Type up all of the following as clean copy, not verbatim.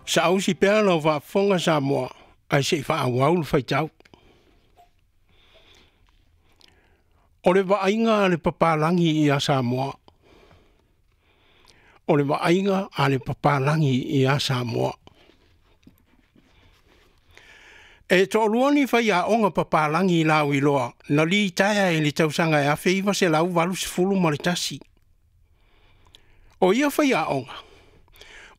Saausi pea lau faafofoga Samoa ae se i faaauau le faitau. O le vaaiga a le papalagi ia Samoa. O le vaaiga a le papalagi ia Samoa. E toalua ni faiaoga papalagi lauiloa na litaea i le tausaga e 1981. O ia faiaoga,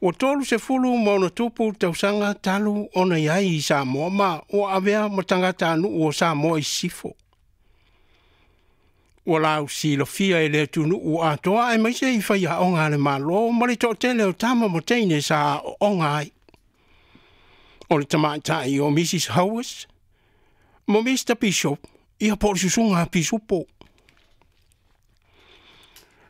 ua 30+ tausaga talu ona i ai i Samoa ma ua avea ma tagatanuu o Samoa i Sisifo. Ua lausilafia e le atunuu atoa aemaise i faiaoga a le Malo ma le toatele o tama ma teine sa aooga ai. O le tamaitai o Mrs Howes ma Mr Bishop, ia po o le susuga a Pisupo.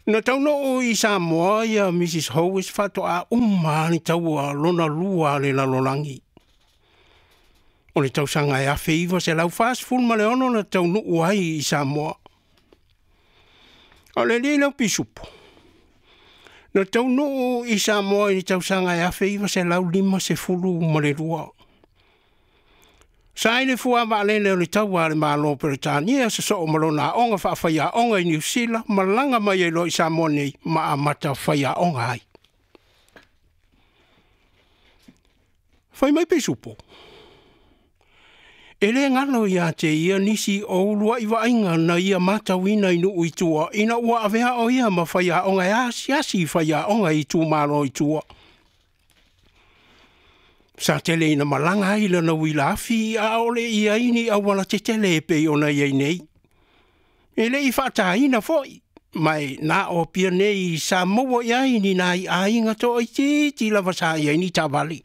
Na taunuu i Samoa ia Mrs Howes faatoa uma le taua lona lua a le lalolagi. O le tausaga e 1946 na taunuu ai i Samoa. O le alii lea o Pisupo, na taunuu i Samoa i le tausaga e 1952. Sa i le fuavaalele o le taua a le Malo o Peretania sosoo ma lona aoga faafaiaoga i Niu Sila, malaga mai ai loa i Samoa nei ma amata faiaoga ai. Fai mai Pisupo, e le galo ia te ia nisi o uluai vaaiga na ia matauina i nuu i tua ina ua avea o ia ma faiaoga e asiasi i faiaoga i itumalo i tua. Sa tele ina malaga ai lana uila afi a o le i ai ni auala tetele e pei ona i ai nei. E le i faataina foi, ma e na o Apia nei sa maua i ai ni nai aiga toaitiiti lava sa i ai ni taavale.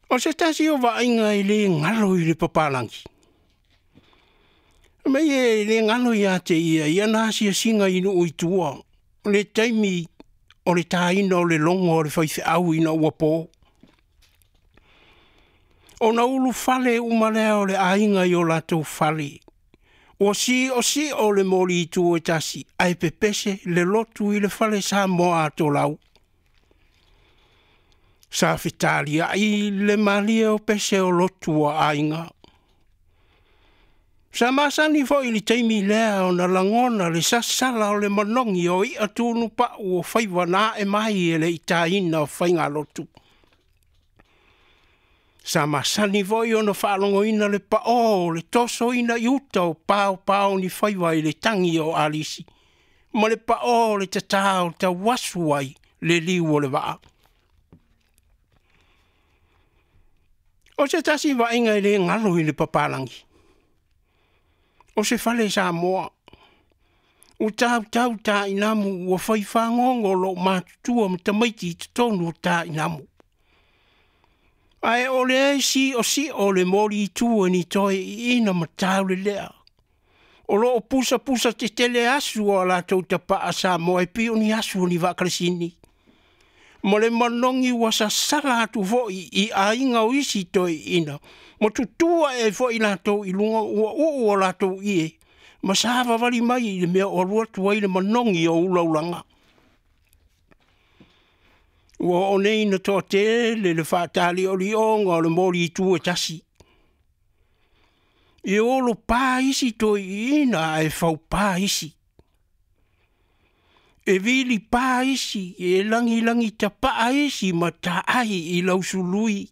O se tasi o vaaiga e le galo i le papalagi, mei e le galo ia te ia i ana asiasiga i nuu i tua, le taimi o le taina o le logo a le faifeau ina ua po. Ona ulufale uma lea o le aiga i o latou fale, ua siosio le moli i tu e tasi, ae pepese le lotu i le fale Samoa atolau. Sa fetaliai le malie o pese o lotu a aiga. Sa masani foi i le taimi lea ona lagona le sasala o le manogi o i'a tunupau o faiva na ae mai e le itaina o faigalotu. Sa masani foi ona faalogoina le paʻō o le tosoina i uta o paopao ni faiva i le tagi o alisi, ma le paʻō o le tatā o tauasu ai le liu o le vaa. O se tasi vaaiga e le galo i le papalagi, o se fale Samoa, ua tautau tainamu ua fai fagogo loo matutua ma tamaiti i totonu o tainamu. Ae o le siosio le moli i tu e ni toe iina ma taulelea. O loo pusapusa tetele asu o latou tapaa Samoa e pei o ni asu o ni vaakalesini. Ma le manogi ua sasala atu foi i aiga o isi toeaiina, ma tutu ae ai foi latou i luga ua uu o latou ie, ma savavali mai i le mea o alu atu ai le manogi o ulaulaga. Ua oo nei ina toatele le faataliolioga o le moli i tu e tasi. E olo pa isi toeaiina ae faupa isi. E vili pa isi, e lagilagi tapaa isi ma taai i lausului.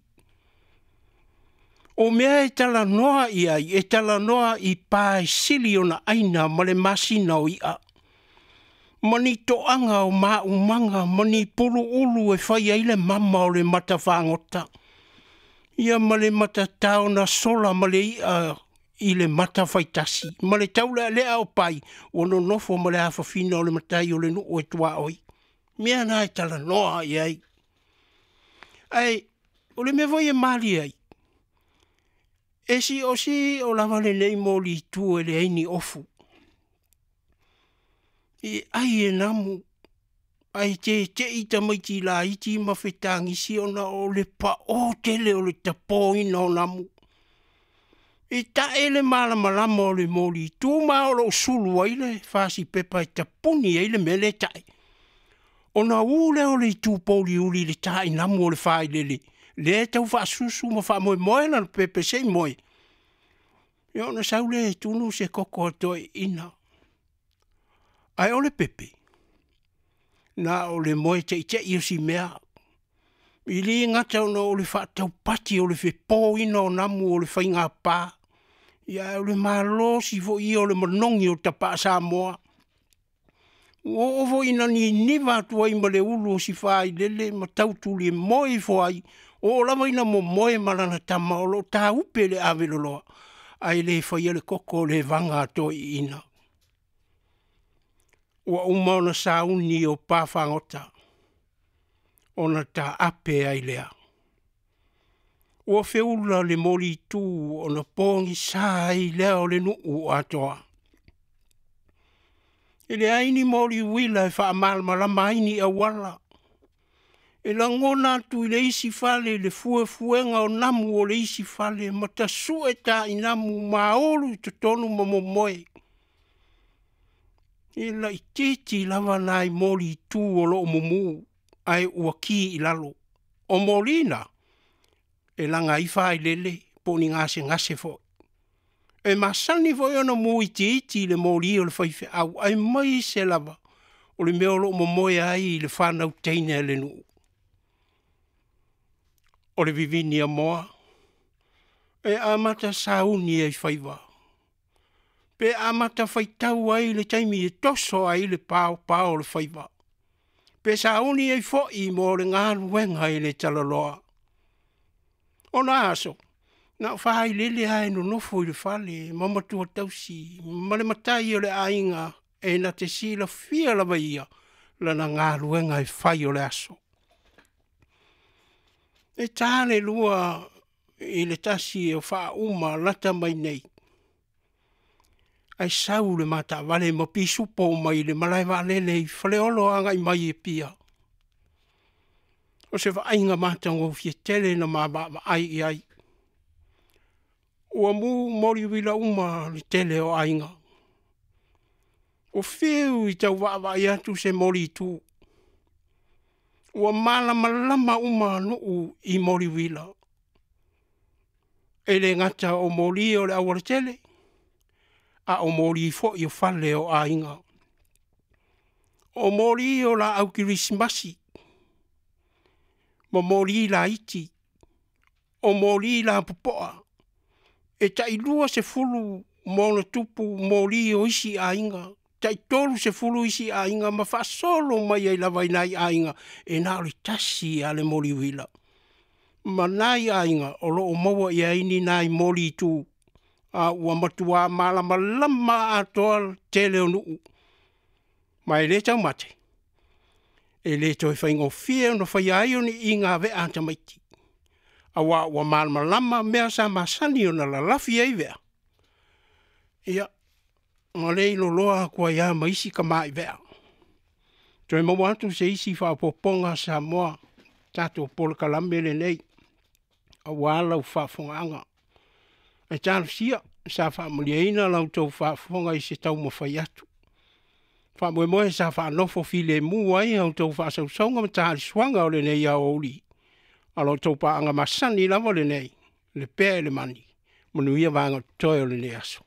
O mea e talanoa i ai, e talanoa i pa e sili ona aina ma le masina o i'a. Ma ni toaga o maumaga ma ni puluulu e fai ai le mama o le matafagota. Ia ma le matatao na sola ma le i'a i le mata faitasi, ma le taulealea o pai, ua nonofo ma le afafina o le matai o le nuu e tuaoi. Mea na e talanoa i ai. Ae, o le mea foi e malie ai, e siosio lava lenei moli i tua e leai ni ofu. E ai e namu, ae tete'i tamaiti laiti ma fetagisi ona o le paʻō tele o le tapōina o namu. E tae le malamalama o le moli i tu ma o loo sulu ai le fasipepa e tapuni ai le mea le tae. Ona ū lea o le itu pouliuli i le tainamu o le failele lea e tau faasusu ma faamoemoe lana pepe se i moe, ia ona sau lea e tunu se koko a toeaiina. Ae o le pepe, na o le moe teitei o si mea, e le gata ona o le faataupati o le fepoina o namu o le faigapa, ae o le malosi foi ia o le manogi o tapaa Samoa. Ua oo foi ina niniva atu ai ma le ulu o si failele ma tau tulimoe ifo ai, oo lava ina momoe ma lana tama o lo o taupe i le aveloloa, ae le faia le koko o le vaga a toeaiina. Ua uma ona sauni o pa fagota ona taape ai lea. Ua feula le molitu ona pogisa ai lea o le nuu atoa. E leai ni moli uila e faamalamalama ai ni auala, e lagona atu i le isi fale le fuefuega o namu o le isi fale ma tasue tainamu ma ulu i totonu ma momoe. E laitiiti lava nai molitu o lo o mumu ae ua ki i lalo. O moli na, e laga ai failele po o ni gasegase foi. E masani foi ona mu itiiti le moli o le faifeau aemaise lava o le mea o lo o momoe ai le fanau teine a le nuu. O le vivini amoa, e amata sauni ai faiva, pe amata faitau ai le taimi e toso ai le paopao o le faiva, pe sauni ai foi mo le galuega i le talaloa. O na aso, na o failele lava e nonofo i le fale ma matua tausi ma le matai o le aiga e na te silafia lava e ia lana galuega e fai o le aso. E ta le 2 i le 1 o faauma lata mai nei, ae sau le ma taavale ma pisupo mai le malae vaalele i Faleolo agai mai i Apia. O se vaaiga matagofie tele na ma vaavaai i ai. Ua mu moli uila uma le tele o aiga. Ua fiu e tau vaavaai atu se molitu. Ua malamalama uma nuu i moli uila. E le gata o moli o le aualatele, a o moli foi o fale o aiga. O moli o laau kerisimasi, ma moli laiti, o moli lapopoa. E tai 20 ma ona tupu moli o isi aiga, tai 30 isi aiga ma faasolo mai ai lava i nai aiga, e na o le tasi lava le moli uila. Ma nai aiga o lo o maua i ai ni nai moli tu, a ua matua malamalama atoa le tele o nuu. Ma e le taumate, e le toe faigofie ona faia ai o ni iga vea a tamaiti, aua ua malamalama mea sa masani ona lalafi ai vea, ia, ma le iloloa atu ai lava ma isi tamai vea. Toe maua atu se isi faaopoopoga Samoa, tatou polokalame lenei aua lau faafofogaaga. Ae talosia sa faamalieina la outou faafofoga i se taumafai atu. Faamoemoe sa faanofo filemu ai a outou faasausauga ma taalisuaga o lenei aoauli. A lo outou paaga masani lava lenei, le pea i le mani, manuia vaega o totoe o lenei aso.